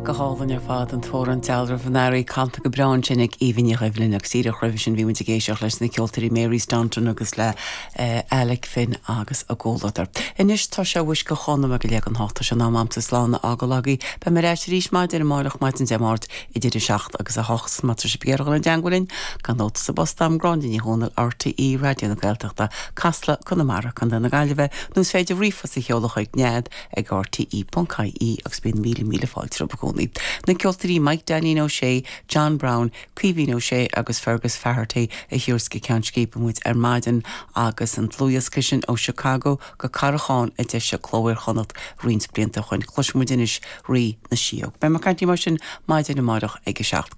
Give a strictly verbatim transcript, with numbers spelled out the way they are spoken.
Go hálainn ar fad an t-amhrán Dealramh an Earraigh canta go breá ansin ag Aoibhinn Ní Dhoibhlin agus díreach roimhe sin bhí muid ag éisteacht leis na ceoltóirí Mary Staunton agus le uh, Alec Finn agus a gcomhluadar. Anois tá sé uisce chonam go legan háta se ná amsa slána agalaí, Beidh mé ar ais arís maidin amárach maidin Dé Máirt idir a seacht agus a hocht má tá sibh ag iarraidh dul i dteagmháil linn gan nóta sa bpost agam Gráinne Ní Dhomhnaill RTÉ Raidió na Gaeltachta Casla Conamara Contae na Gaillimhe nó is féidir ríomhphost a sheoladh chuig nead ag RTE.ie agus bíonn míle míle fáilte romhaibh i gcónaí. Na ceoltóirí Mike Danny O'Shea, John Brown, Caoimhín Ó Sé agus Fergus Faherty a thabharfas go Ceann Scríbe muid ar maidin agus an dlúthdhiosca sin ó Chicago go Carrachán a d'eisigh Cló Iar-Chonnacht roinnt blianta ó shin cloisfidh muid anois Rí na Síóg. Beidh mé ag caint mar sin maidin amárach ag a seacht.